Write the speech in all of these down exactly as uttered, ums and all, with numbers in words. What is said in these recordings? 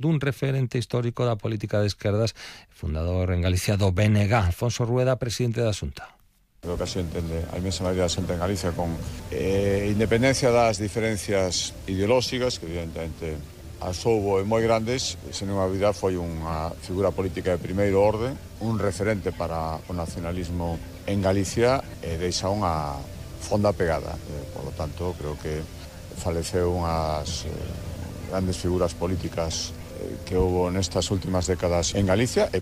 dun referente histórico da política de esquerdas, fundador en Galicia do B N G, Alfonso Rueda, presidente da Xunta. Creo que así entende a inmensa maioría da xente en Galicia, con eh, independencia das diferencias ideolóxicas, que evidentemente as houbo moi grandes, sen unha dúbida foi unha figura política de primeiro orde, un referente para o nacionalismo en Galicia e deixa unha fonda pegada. Eh, por lo tanto, creo que faleceu unhas eh, grandes figuras políticas eh, que houbo nestas últimas décadas en Galicia. E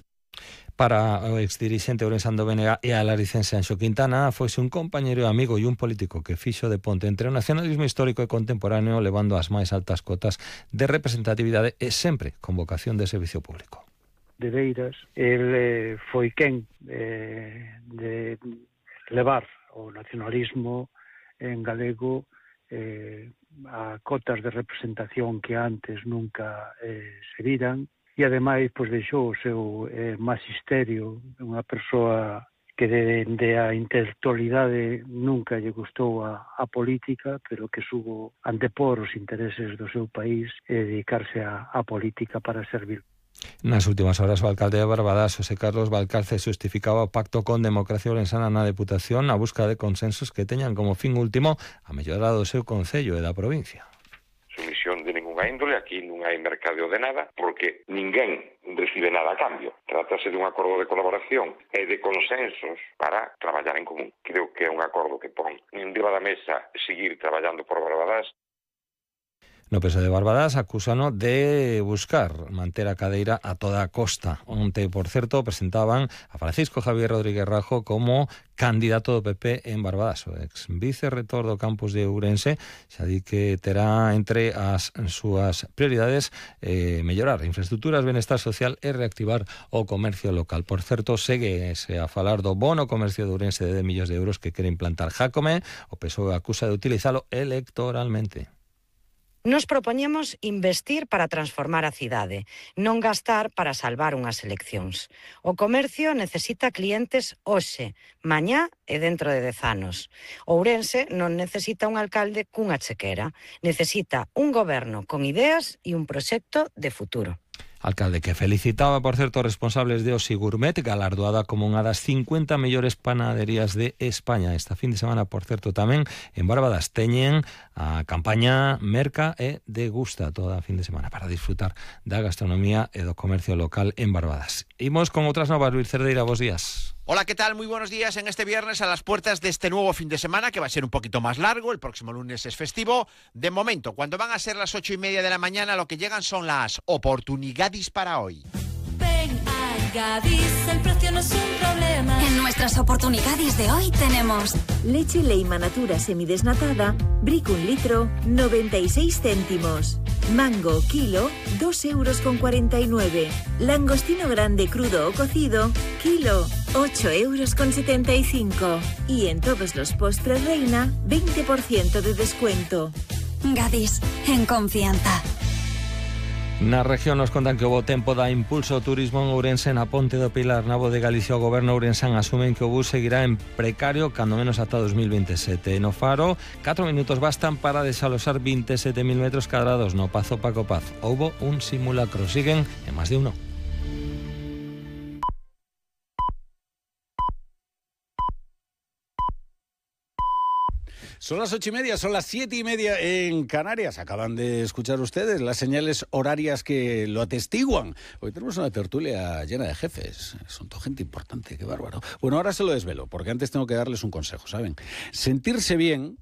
para o exdirixente ourensán do B N G e a laricense Anxo Quintana, foise un compañeiro e amigo e un político que fixo de ponte entre o nacionalismo histórico e contemporáneo, levando as máis altas cotas de representatividade e sempre con vocación de servicio público. De Beiras, el eh, foi quen eh, de levar o nacionalismo en galego eh, a cotas de representación que antes nunca eh, se viran. E, ademais, pois, deixou o seu eh, magisterio, unha persoa que dende a intelectualidade nunca lle gustou a, a política, pero que subo antepor os intereses do seu país e dedicarse a, a política para servir. Nas últimas horas, o alcalde de Barbadas, José Carlos Valcarce, justificaba o pacto con Democracia Ourensana na Deputación a busca de consensos que teñan como fin último a mellorar o seu concello e da provincia. Sumisión de ninguna índole, aquí non hai mercadeo de nada, porque ninguén recibe nada a cambio. Trátase dun acordo de colaboración e de consensos para traballar en común. Creo que é un acordo que pon en riba da mesa seguir traballando por Barbadas. No P S O E de Barbadas acúsano de buscar manter a cadeira a toda costa. Onte, por certo, presentaban a Francisco Javier Rodríguez Rajo como candidato do P P en Barbadas. O ex vicerrector do campus de Ourense xa di que terá entre as súas prioridades eh, mellorar infraestructuras, benestar social e reactivar o comercio local. Por certo, segue a falar do bono comercio de Ourense de dez millóns de euros que quere implantar Jácome. O P S O E acusa de utilizalo electoralmente. Nos propoñemos investir para transformar a cidade, non gastar para salvar unhas eleccións. O comercio necesita clientes hoxe, mañá e dentro de dez anos. Ourense non necesita un alcalde cunha chequera, necesita un goberno con ideas e un proxecto de futuro. Alcalde que felicitaba, por certo, responsables de Osi Gourmet, galardoada como unha das cincuenta mellores panaderías de España. Esta fin de semana, por certo, tamén en Barbadas teñen a campaña Merca e Degusta toda a fin de semana para disfrutar da gastronomía e do comercio local en Barbadas. Imos con outras novas. Luis Cerdeira, bos días. Hola, ¿qué tal? Muy buenos días en este viernes a las puertas de este nuevo fin de semana que va a ser un poquito más largo. El próximo lunes es festivo. De momento, cuando van a ser las ocho y media de la mañana, lo que llegan son las oportunidades para hoy. Ven a Gadis, el precio no es un problema. En nuestras oportunidades de hoy tenemos leche Leima Natura semidesnatada, Brick un litro, noventa y seis céntimos. Mango kilo, dos euros con cuarenta y nueve. Langostino grande crudo o cocido, kilo, ocho euros con setenta y cinco. Y en todos los postres Reina, veinte por ciento de descuento. Gadis, en confianza. Na región nos contan que o bo tempo dá impulso ao turismo en Ourense. Na Ponte do Pilar, Nabo de Galicia, o goberno ourensán asumen que o bus seguirá en precario cando menos ata dos mil veintisiete. No Faro, catro minutos bastan para desalosar veintisiete mil metros cadrados no Pazo Paco Paz. Houbo un simulacro, siguen en máis de uno. Son las ocho y media, son las siete y media en Canarias. Acaban de escuchar ustedes las señales horarias que lo atestiguan. Hoy tenemos una tertulia llena de jefes. Son toda gente importante, qué bárbaro. Bueno, ahora se lo desvelo, porque antes tengo que darles un consejo, ¿saben? Sentirse bien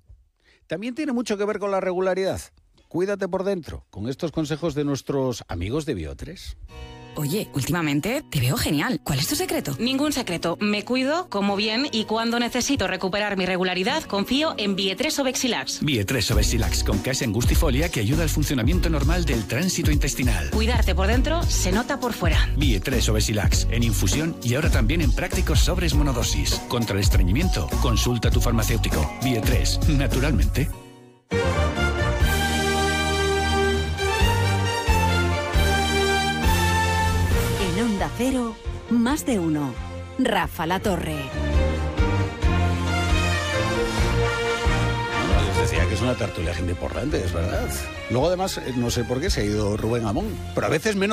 también tiene mucho que ver con la regularidad. Cuídate por dentro, con estos consejos de nuestros amigos de Biotres. Oye, últimamente te veo genial. ¿Cuál es tu secreto? Ningún secreto. Me cuido, como bien y cuando necesito recuperar mi regularidad, confío en Bietres Obexilax. Bietres Obexilax con K S angustifolia que ayuda al funcionamiento normal del tránsito intestinal. Cuidarte por dentro se nota por fuera. Bietres Obexilax en infusión y ahora también en prácticos sobres monodosis. Contra el estreñimiento, consulta a tu farmacéutico. Bietres, naturalmente. Onda Cero, más de uno. Rafa La Torre. No, les decía verdad que es una tertulia gente importante, es verdad. Luego además, no sé por qué se ha ido Rubén Amón, pero a veces menos